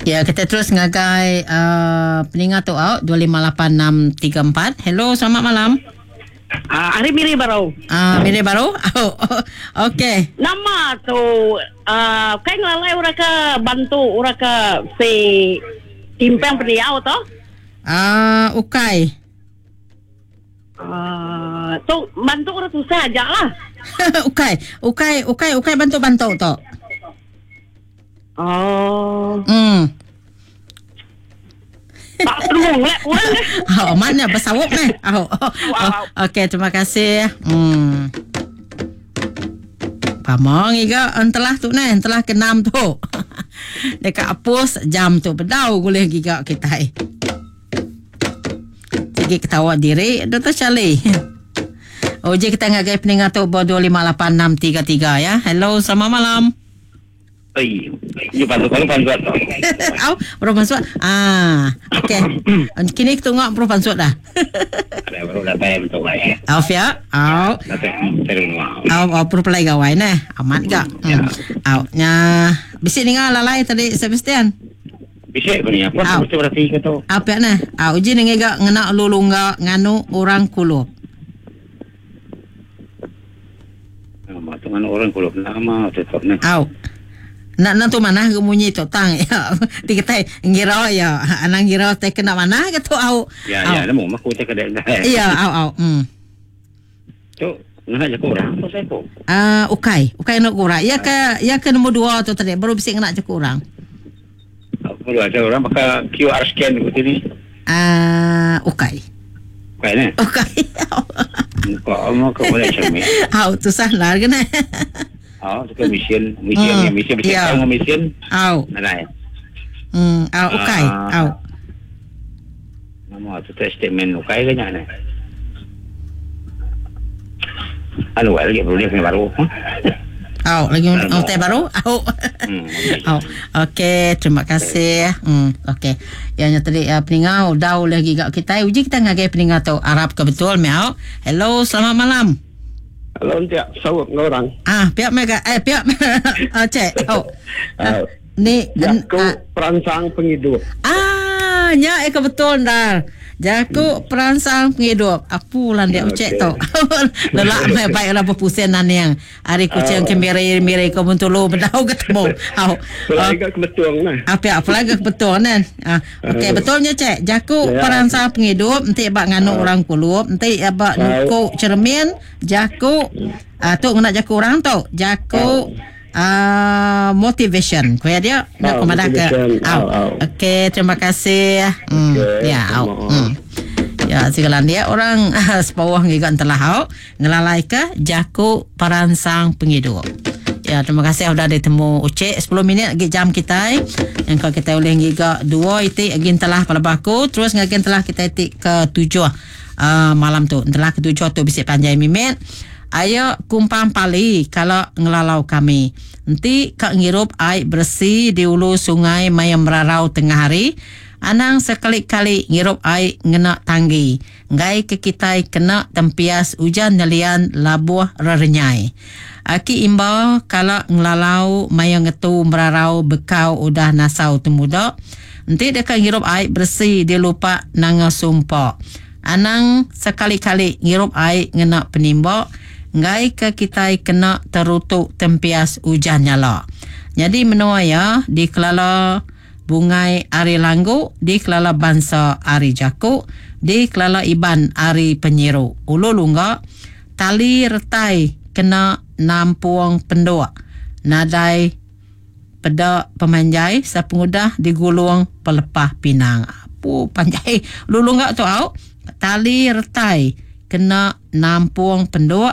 Ya, kita terus ngagai uh, peninga tu au 258634. Hello, selamat malam. Ah, hari Miri baru. Ah, Miri baru. Oh, okey. Nama tu uh, kai ngelalai orang ke bantu orang ke si timpang pendiau tu? Ah, ukai. Uh, tu bantu orang susah aja lah. ukai, ukai, ukai, ukai bantu-bantu tu. Oh. Tak temu lah orang ke. Oh, mana bersawup ni? Oh, oh, oh. Okey, terima kasih. Pamong iga entelah tu ni, entelah ke enam tu. Dekat apus jam tu bedau boleh giga kita. Sigi ketawa diri Dr. Charlie. Uji kita ngagai peninga tu ba 258633 ya. Hello, selamat malam. Oi, you bantu kalau bantu tu. Au, baru masuk. Ah, okey. Kini kita tengok baru masuk dah. Ada baru datai betul lah. Au fia. Au. Datai terus. Au, au perlu pelai gawai neh. Amat gak. Ya. Au, nya bisik ninga lalai tadi Sebastian. Bisik pun ni apa Au. mesti berarti ke tu. Apa nah? Au uji ninga gak ngena lulungga nganu orang kulup. Nama tu nganu orang kulup nama tetap ni. Au. Nak nak tu mana ke munyi tu tang ya. Ti kita ngira ya. Anang ngira te kena mana ke tu au. Ya Au. ya, nemu mah ku te kedai. Ya, au au. Tu ngena je kurang tu saya ko. Ah, ukai. Ukai nak kurang. Ya ke ya ke nombor 2 tu tadi baru bisik ngena je kurang. Aku ada orang pakai QR scan ku sini. Ah, ukai. Ukai ni. Ukai. Kau mau ke boleh cermin. Au, tu sah lah kena. Oh, tu ke mesin, mesin, mesin, mesin, Ya. tahu mesin. Au. Nadai. Au ukai. Ah. Au. Nama tu test statement ukai ke nya ni. Anu lagi baru dia kena baru. Au, lagi Alamak. oh, teh baru. Au. Okey. Au. Okey, terima kasih. Okey. Yang nya tadi uh, peninga udah lagi gak kita. Uji kita ngagai peninga tu Arab ke betul miau. Hello, selamat malam. Hello, tiap sawap dengan orang. Ah, pihak mereka eh pihak ah, cek. Oh. Ah, ni Jaku ah, perangsang penghidup. Ah, nya eh kebetul dah. Jaku perangsang penghidup. Apu lan dia ucek Okey. tu. Lelak mai baik lah berpusing nan yang. Hari kucing ke miri-miri ke Bentulu bedau ketemu. Au. Pelai ke kebetulan lah. Apa apa lagi betul kan? Ah, okey betulnya cek. Jaku Ya. perangsang penghidup enti bak nganu orang kulup, enti bak nukuk cermin, jaku ah tu ngena jaku orang tu. Jaku ah motivation. Kuya dia nak Ah, kemana ke? motivation. Au. Au, au. Okey, terima kasih. Okey, Ya, au. sama. Ya, segala dia orang sepawah ngiga entelah au ngelalai ke jaku perangsang penghidup. Ya, terima kasih sudah ditemu Ucik 10 minit lagi jam kita. Yang kalau kita boleh ngiga dua itik lagi telah pada baku terus ngagin telah kita itik ke tujuh malam tu. Telah ke tujuh tu bisik panjai mimit. Ayo kumpang pali kalau ngelalau kami. Nanti kak ngirup air bersih di ulu sungai mayam merarau tengah hari. Anang sekali-kali ngirup air ngena tanggi. Ngai ke kitai kena tempias hujan nelian labuh rerenyai. Aki imba kalau ngelalau maya ngetu merarau bekau udah nasau temuda. Nanti dekat ngirup air bersih dia lupa nanga sumpah. Anang sekali-kali ngirup air ngena penimbak. Ngai ke kitai kena terutuk tempias hujan nyala. Jadi menua ya di Kelala Bungai Ari Langgu, di Kelala Bansa Ari Jakuk, di Kelala Iban Ari Penyiru. Ulu lungga, tali retai kena nampuang penduk. Nadai peda pemanjai sepengudah digulung pelepah pinang. Apa panjai? Ulu lungga tu au. Tali retai kena nampung penduk.